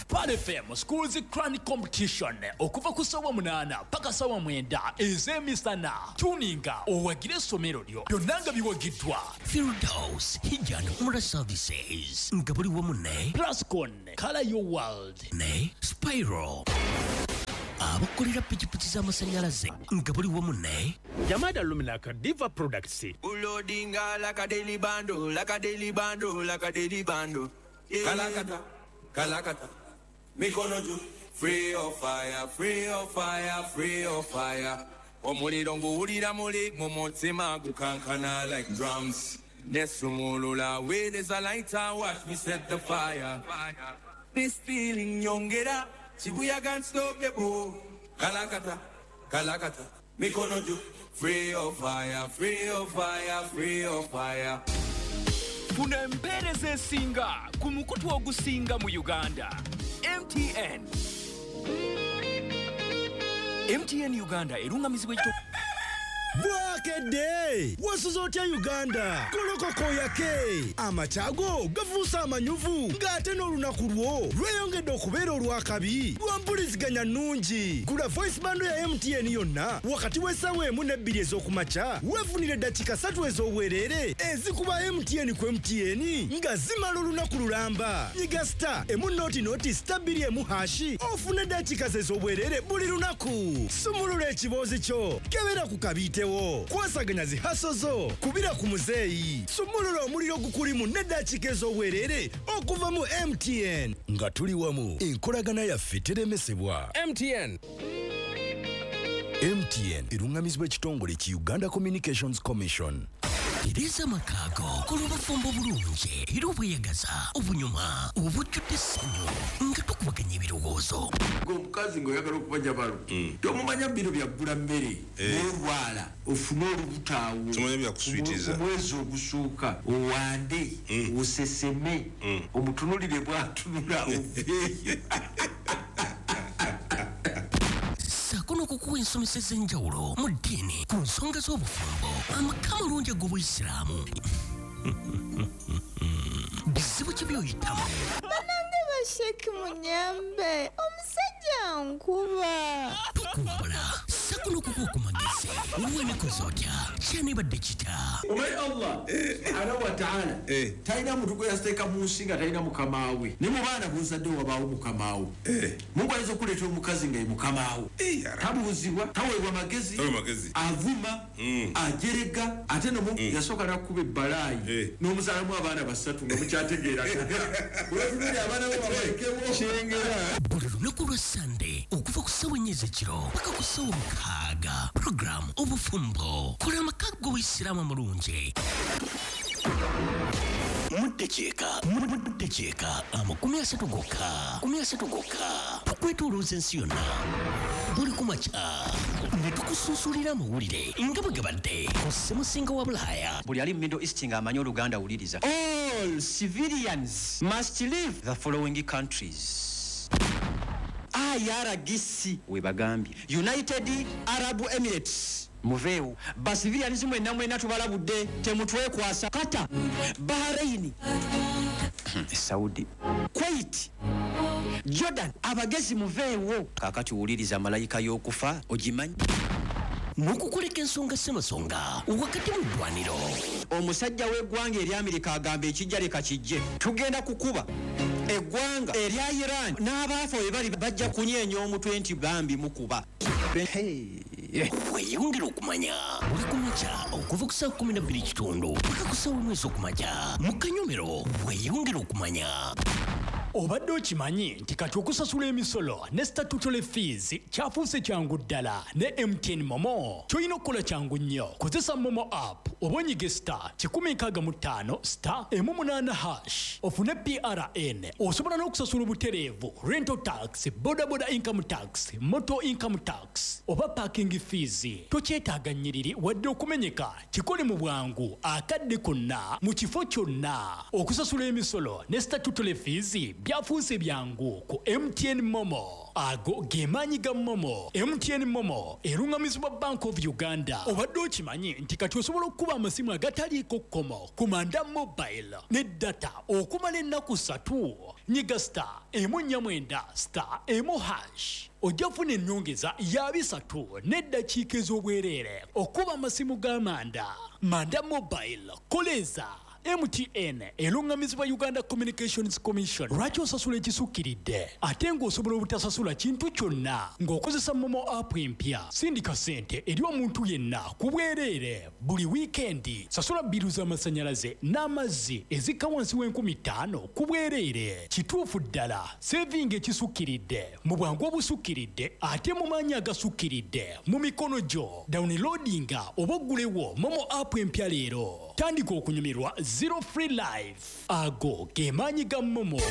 Pearl FM Schools Quran Competition okuva ku ssaawa 8 paka ssaawa 9 ez'emisana. Tuninga owagire essomero lyo byonna nga biwagiddwa Firdaus Hijj and Umrah Services nga buli wamu ne Plascon Color Your World ne Spiral abakolera pikipiki z'amasannyalaze nga buli wamu ne Jamada Luminaka Diva Products. Ulodinga like a daily bando, like a daily bando, like a daily bando. Yeah. Kalakata, kalakata, mikono juu. Free of fire, free of fire, free of fire. Omuliro nguwulira muli mu mutima gukankana like drums. Nesumulula with a lighter, watch me set the fire. This feeling nyongera, chibuyaga unstoppable. Kalakata, kalakata, mikono juu. Free of fire, free of fire, free of fire. Funa empeereza esinga ku mukutu ogusinga mu Uganda. MTN. MTN Uganda erungamizibwa ekito. Bwakedde wasuze otya Uganda? Golokoka oyake, amakyago gafuuse amanyuvu ng'ate n'olunaku lwo lweyongedde okubeera olw'akabi lwa mpuliziganya nnungi. Gula voice bundle ya MTN yonna wakati w'essaawa 1 ne 2 ez'okumakya, weefunire eddakiika 3 ez'obwereere ezikuba MTN ku MTN nga zimala olunaku lulamba. Nyiga star emu noti noti star 2 emu hashi ofune eddakiika ze ez'obwereere buli lunaku. Sumulula ekiboozi kyo, kebera ku kabiitewo, kwasaganya zi haso zo, kubira ku muzeeyi, sumulula omuliro gukulimu n'eddakiika ez'obwereere okuva mu MTN. Nga tuli wamu, enkolagana yaffe teremesebwa. MTN. MTN erungamizibwa ekitongole ki Uganda Communications Commission. Tereza amakaago kola obufumbo obulungi era obweyagaza obunyuma obujjudde essanyu nga tukubaganya ebirowoozo. Omukazi ng'oyagala okuba jabalo tomumanya bino byaggula mmere n'olwala ofune olubuto awo omwezi ogusooka owande oseseme omutunulire bw'atunula oveeyo. Ssaako n'okukuwa ensomesa ez'enjawulo mu ddiini ku nsonga z'obufumbo, amaka amalungi ag'obuyisiraamu. Bizibu ki by'oyitamu? Bannange basheki munyambe, omusajja nkuba. Tukuwabula ssaako n'okukuwa ku magezi. Weekoze otya? Kyanibadde kita? Omanyi Allah subhanahu wa ta'ala talina muntu gwe yateeka mu nsi nga talina mukamaawe. Ne mu baana b'ozadde wabaawo mukamaawo. Mungu ayinza okuleeta omukazi nga ye mukamaawo. Tabuuzibwa, taweebwa magezi, avuma, ajerega, ate no yasooka n'akuba ebbalaayi n'omuzaalamu abaana 3 nga mukyategeeragana. Weetunulira abaana bo babalekewo. Kyengera. Buli lunaku lwa Sande okuva ku ssaawa 4 ez'ekiro paka ku ssaawa 6, puroguramu Obufumbo, kola amaka g'obuyisiraamu amalungi. Muddakiika 30 gokka, 30 gokka, tukwetoolooza ensi yonna buli ku makya ne tukusunsulira amawulire nga bwe gabadde ku ssemusinga wa Bulaaya. Buli ali mu Middle East ng'amanyi Oluganda wuliriza. All civilians must leave the following countries. IRGC we bagambye, United Arab Emirates muveewo, basivilians mwenna mwenna tubalabudde temutwekwasa. Qatar, Bahrain, Saudi, Kuwait, Jordan, abagezi muveewo. Kaakati wuliriza malayika y'okufa ogimanyi n'okukuleka ensonga ssemasonga wakati mu ddwaniro. Omusajja w'eggwanga ery'Amerika agamba ekijja leka kijje, tugenda kukuba eggwanga erya Iran n'abaafa we bali bajja kunyeenya omutwe nti bambi mukuba. Weeyongere okumanya buli ku makya okuva ku ssaawa 12:15 paka ku ssaawa 1 ez'okumakya mu kanyomero. Weeyongere okumanya. Obadde okimanyi nti kati okusasula emisolo ne statutory fees kyafuuse kyangu ddala ne MTN Momo. Ky'olina okukola kyangu nnyo, kozesa Momo app oba onyige star 165 star 8 hash ofune PRN. Osobola n'okusasula obutereevu rental tax, bodaboda income tax, motor income tax oba parking fees. Tokyetaaga nnyiriri wadde okumenyeka, kikole mu bwangu akadde konna mu kifo kyonna. Okusasula emisolo ne statutory fees byafuuse byangu ku MTN Momo. Ago ge maanyi ga Momo. MTN Momo erungamizibwa Bank of Uganda. Obadde okimanyi nti kati osobola okukuba amasimu agataliiko kkomo ku Manda Mobile ne data okumala ennaku 3. Nyiga *149 *1# ojja kufuna ennyongeza ya 3 n'eddakiika ez'obwereere okuba amasimu ga Manda. Manda Mobile koleza. MTN erungamizibwa Uganda Communications Commission. Lwaki osasula ekisukkiridde ate ng'osobola obutasasula kintu kyonna ng'okozesa Momo app empya? Sindika ssente eri omuntu yenna ku bwereere buli wiikendi. Sasula bbiru z'amasannyalaze n'amazzi ezikka wansi w'enkumi 5 ku bwereere. Kituufu ddala, sevinga ekisukkiridde mu bwangu obusukkiridde ate mu maanyi agasukkiridde mu mikono gyo. Downloadinga oba oggulewo Momo app empya leero. Tandika okunyumirwa Zero Free Life. Ago ge maanyi ga Momo.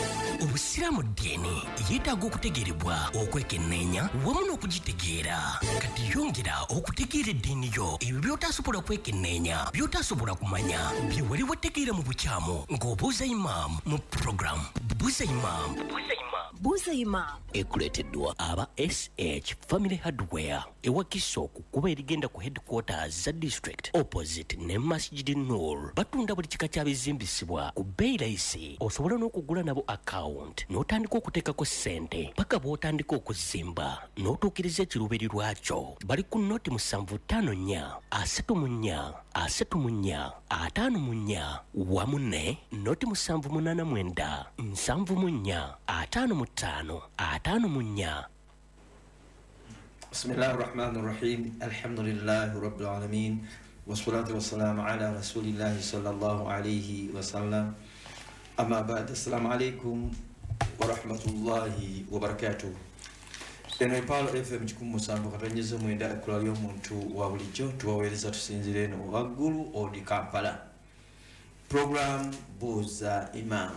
Obusiraamu ddiini yeetaaga okutegeerebwa, okwekenneenya wamu n'okugitegeera. Kati yongera okutegeera eddiini yo, ebyo by'otasobola kwekenneenya, by'otasobola kumanya, bye wali wategeera mu bukyamu, ng'obuuza imaamu mu program Buuza Imaamu. Buuza Imaamu ekuleeteddwa aba SH Family Hardware ewakiso ku kkubo erigenda ku headquarters za district opposite ne Masjid Nur. Batunda buli kika kya bizimbisibwa ku bbeeyi layisi. Osobola n'okugula nabo account n'otandika okuteekako ssente paka bw'otandika okuzimba n'otuukiriza ekiruubirirwa kyo. Bali ku 075 34 34 54 wamu ne 0789 74 55 54. بسم الله الرحمن الرحيم، الحمد لله رب العالمين، والصلاة والسلام على رسول الله صلى الله عليه وسلم، أما بعد، السلام عليكم ورحمة الله وبركاته. Eno Epalo FM 107.9, ekkula ly'omuntu wa bulijjo. Tubaweereza tusinzire eno waggulu odi Kampala. Program Buuza Imam.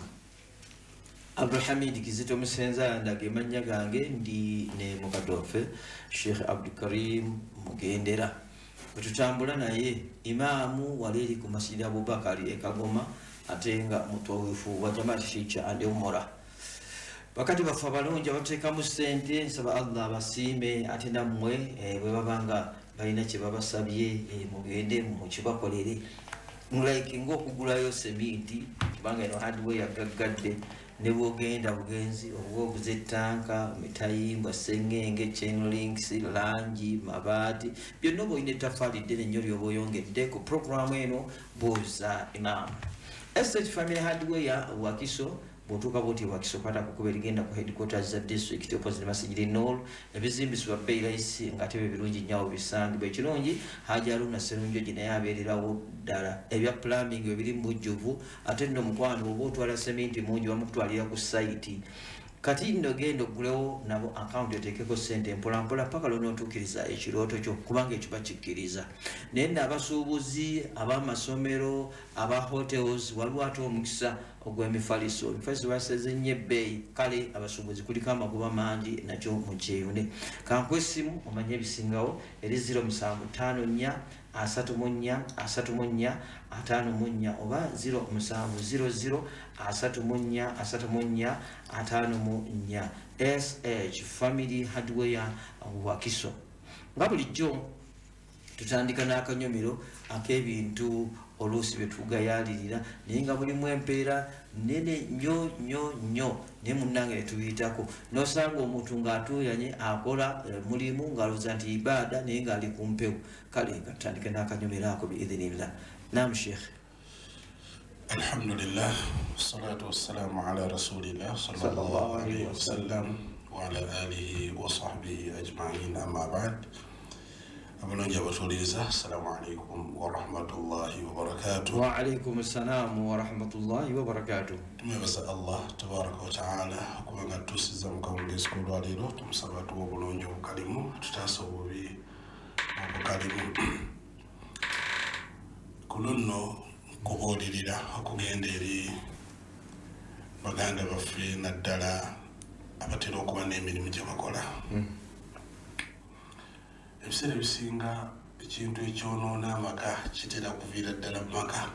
Abdulhamid Kizito Musenza ndaga emannya gange, ndi ne mukadde waffe Sheikh Abdulkarim Mugendera bwetutambula naye, imaamu wali eri ku Masjid Abubakari e Kagoma, ate nga mutwawifu wa Jamaat Hijja and Umura. Bakati baffe abalungi abateekamu ssente, nsaba Allah abasiime, ate nammwe bwe baba nga balina kye babasabye, mugende mukibakolere, like ng'okugulayo seminti, kubanga eno hardware gaggadde ne bwogenda bugenzi oba oguza ettanka, mitayimbwa, sengenge, chain links, langi, mabaati, byonna oba olina ettafaali ddene nnyo ly'oba oyongedde ku puroguramu eno Buuza Imaamu. SH Family Hardware Wakiso, bw'otuuka bwoti Wakiso, kwata ku kkubo erigenda ku headquarters za district opposite Masjid Nur. Ebizimbisibwa bbeeyi layisi ng'ate bye birungi nnyo awo bisangibwa. Ekirungi, Haji Haruna Serunjogi naye abeererawo ddala. Ebya plumbing ebiri mu bujjuvu, ate nno mukwano oba otwala seminti mungi bamukutwalira ku sayiti. Kati nno genda oggulewo nabo akawunti, oteekeko ssente mpolampola paka lw'onootuukiriza ekirooto kyo, kubanga ekyo bakikkiriza. Naye nno abasuubuzi, ab'amasomero, aba hotels, waliwo ate omukisa ogw'emifaliso. Emifaliso baseze nnyo ebbeeyi, kale abasuubuzi kuliko amagoba mangi, nakyo mukyeyune. Kankuwa essimu omanye ebisingawo, eri 0754 34 34 54 oba 0700 34 34 54. SH Family Hardware Wakiso. Nga bulijjo tutandika n'akanyomero ak'ebintu oluusi bye tugayaalirira, naye nga mulimu empeera nene nnyo nnyo nnyo, naye munnange ne tubiyitako, n'osanga omuntu ng'atuuyanye akola mulimu ng'alowooza nti ibaada, naye ng'ali ku mpewo. Kale nga tutandike n'akanyomero ako biidhinillah. Nam Sheikh. الحمد لله والصلاة والسلام على رسول الله صلى الله عليه وسلم وعلى آله وصحبه أجمعين، أما بعد. Abalungi abatuuliriza, assalamu alaikum warahmatullahi wabarakatuh. Waalaikum ssalaamu warahmatullahi wabarakatuh. Tumwebaza Allah tabaraka wataala okuba nga tutuusiza mu kawungeezi k'olwaleero. Tumusaba tuwa obulungi obukalimu, tutaasa obubi obukalimu. Ku lunno nkubuulirira okugenda eri baganda baffe, naddala abatera okuba n'emirimu gye bakola. Ebiseera ebisinga ekintu ekyonoona amaka kitera kuviira ddala mu maka.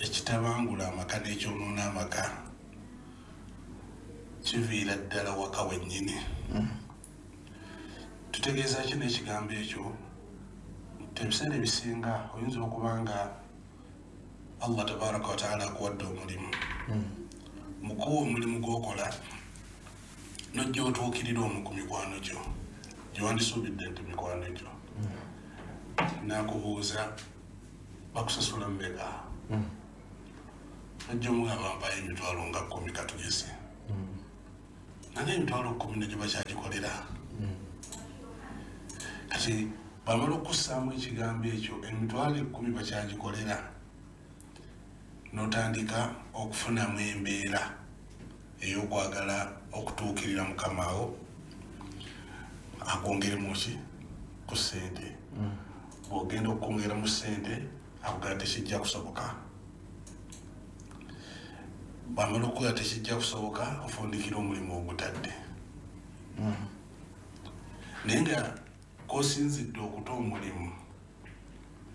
Ekitabangula amaka n'ekyonoona amaka kiviira ddala waka wennyini. Tutegeeza ki n'ekigambo ekyo? Nti ebiseera ebisinga oyinza okuba nga Allah tabaraka wataala akuwadde omulimu, mukuwa omulimu gw'okola nojja otuukirira omu ku mikwano gyo gyewandisuubidde nti mikwano gyo, nakubuuza bakusasula mmeka, nojja omugamba mpayo 10,000 katugeze, naye 10,000 negyo bakyagikolera. Kati bamala okussaamu ekigambo ekyo 10,000 bakyagikolera, n'otandika okufunamu embeera ey'okwagala okutuukirira mukamaawo akwongeremu ki ku ssente. Bw'ogenda okwongeramu ssente akugamba tekijja kusoboka. Bw'amala okukola tekijja kusoboka, ofundikira omulimu ogutadde. Naye nga kosinzidde okuta omulimu,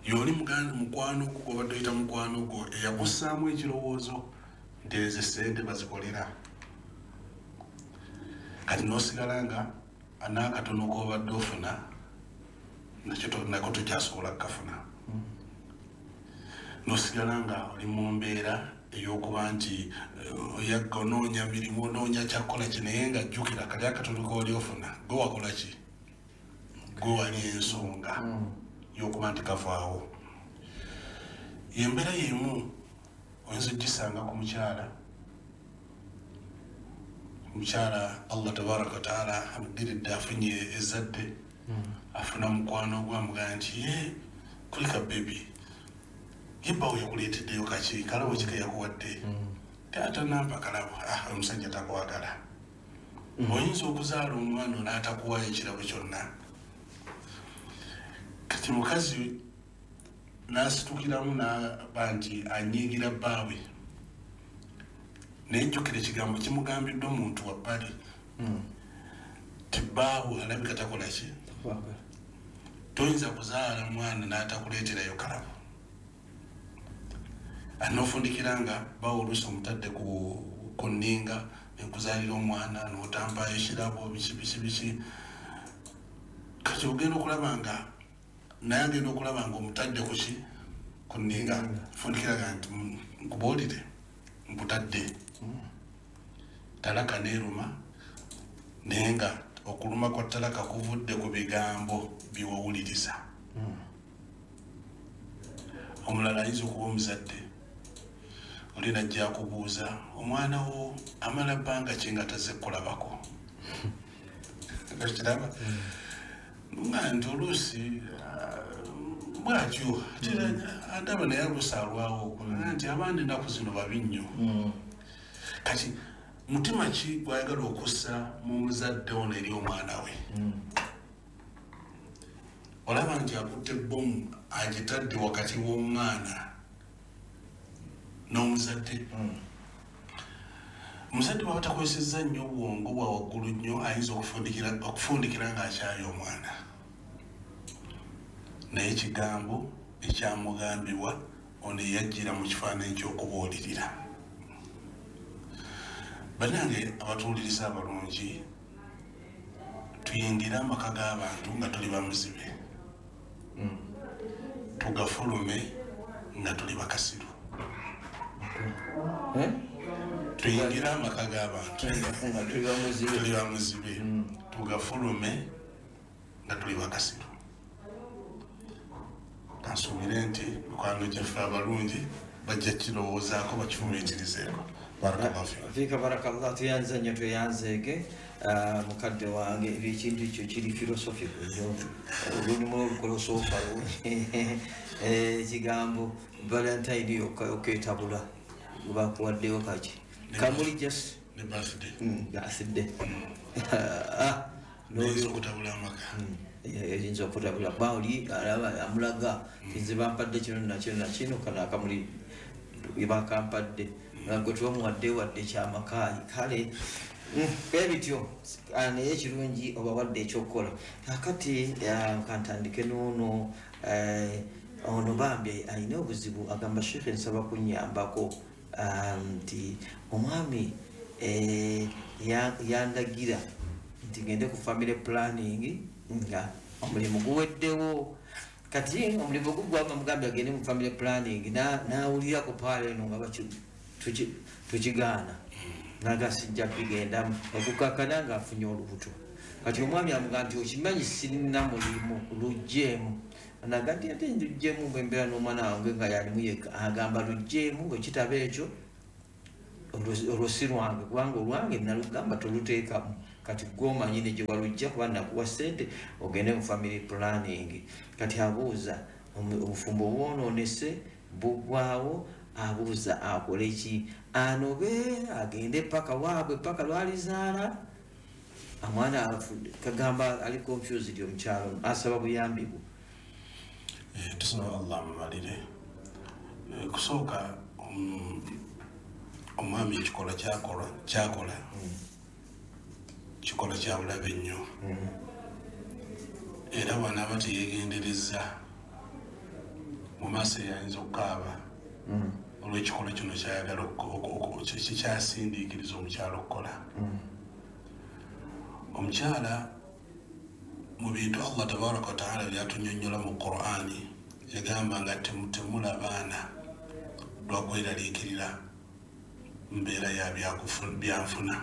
yoli mukwano gwo gw'obadde oyita mukwano gwo eyakussaamu ekirowoozo nti ezo ssente bazikolera, kati n'osigala nga n'akatono k'obadde ofuna nako tokyasobola kukafuna, n'osigala nga oli mu mbeera ey'okuba nti oyagga onoonya mirimu, onoonya kyakukola ki, naye nga jjukira kali akatono k'oli ofuna gwe wakola ki, gwe wali ensonga y'okuba nti kavaawo. Embeera y'emu oyinza ogisanga ku mukyala. Omukyala Allah tabaraka wataala amudiridde afunye ezzadde, afuna mukwano gwe amugamba nti ye kulika bebi, ye bbawo yakuleeteddeyo kaki, kalabo ki ke yakuwadde? Taata nampa kalabo. Omusajja takwagala. Oyinza okuzaala omwana n'atakuwaayo ekirabo kyonna. Kati mukazi n'asitukiramu n'aba nti anyiigira bbaawe, naye jjukira ekigambo kimugambiddwa omuntu wa bbali ti bbaawe alabika takola ki, toyinza kuzaala mwana n'atakuleeterayo kalabo. Anofundikira nga bbaawe oluusi omutadde ku nninga nekuzaalira omwana n'otampayo ekirabo biki biki biki. Kati ogenda okulaba nga naye agenda okulaba nga omutadde ku ki, ku nninga, fundikiraga nti nkubuulire nkutadde. Talaka neeruma, naye nga okuluma kwa talaka kuvudde ku bigambo byewawuliriza. Omulala ayinza okuba omuzadde, oli najja akubuuza omwana wo amala bbanga ki nga tazze kulabako. Kiraba nga nti oluusi bwatyo andaba naye oluusi alwawo nti abaana ennaku zino babi nnyo. Kati mutima ki gwayagala okussa mu muzadde ono eri omwana we? Olaba nti akutte bbomu agitadde wakati w'omwana n'omuzadde. Omuzadde bw'aba takozesezza nnyo obwongo bwa waggulu nnyo, ayinza okufundikira ng'akyaye omwana, naye ekigambo ekyamugambibwa ono eyajjira mu kifaananyi ky'okubuulirira. Bannange abatuwuliriza abalungi, tuyingire amaka g'abantu nga tuli bamuzibe, tugafulume nga tuli bakasiru. Tuyingire amaka g'abantu nga tuli bamuzibe, tugafulume nga tuli bakasiru. Kansuubire nti mikwano gyaffe abalungi bajja kirowoozaako bakifumiitirizeeko. Fika barakallah, tuyanze nnyo tweyanzeege mukadde wange. Ekintu ekyo kiri philosophical nnyo, olulimu olukolosoofa ekigambo Valentine yokka oketabula bakuwaddeyo kaki kamuli just ne birthday. Birthday noyinza okutabula amaka, eyinza okutabula kuba oli alaba amulaga nze bampadde kino nakino nakino, kano akamuli bakampadde gwe tebamuwadde wadde kyamakaayi. Kale ebityo naye ekirungi obawadde ekyokukola. Kakati kantandike noono Ono bambi alina obuzibu, agamba Sheikh nsaba kunnyambako nti omwami yandagira nti ngende ku family planning nga omulimu guweddewo. Kati omulimu gugwanga mugambye agende mu family planning n'awulira ku paala eno nga tukigaana nagasijja bigendamu okukakana ng'afunye olubuto. Kati omwami amugamba nti okimanyi sirina mulimu luggyemu. Naga nti ate luggyemu bwe mbeera n'omwana wange nga yalimu yekka. Agamba luggyemu bwe kitaba ekyo olwo si lwange, kubanga olwange nalugamba toluteekamu. Kati gw'omanyi ne gye walujja kuba nakuwa ssente ogende mu family planning. Kati abuuza obufumbo bwonoonese buggwawo, abuuza akole ki, anobe agende paka waabwe paka lwalizaala omwana. Kagamba ali confused omukyalo, asaba buyambi bwo. Tusaba Allah amumalire. Kusooka omwami ekikolwa kyakola kikola kya bulabe nnyo, era bw'anaaba teyeegendereza mu maaso eyayinza okukaaba olw'ekikolwa kino kyayagala kikyasindiikiriza omukyala okukola. Omukyala mu bintu Allah tabaraka wa taala byatunyonnyola mu Qur'ani yagamba nga temutemula baana lwakweraliikirira mbeera ya byanfuna,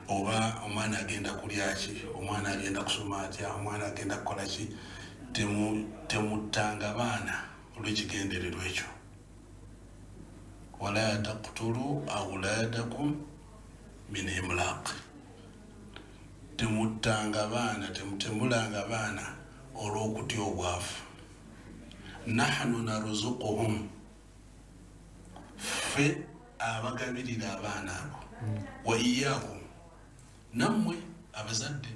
oba omwana agenda kulya ki, omwana agenda kusoma atya, omwana agenda kukola ki. Temuttanga baana olw'ekigendererwa ekyo. Wala taqtulu awladakum min imlaq, temuttanga baana, temutemulanga baana olw'okutya obwavu. Nahnu narzuquhum, ffe abagabirira abaana abo, wa iyyakum, nammwe abazadde.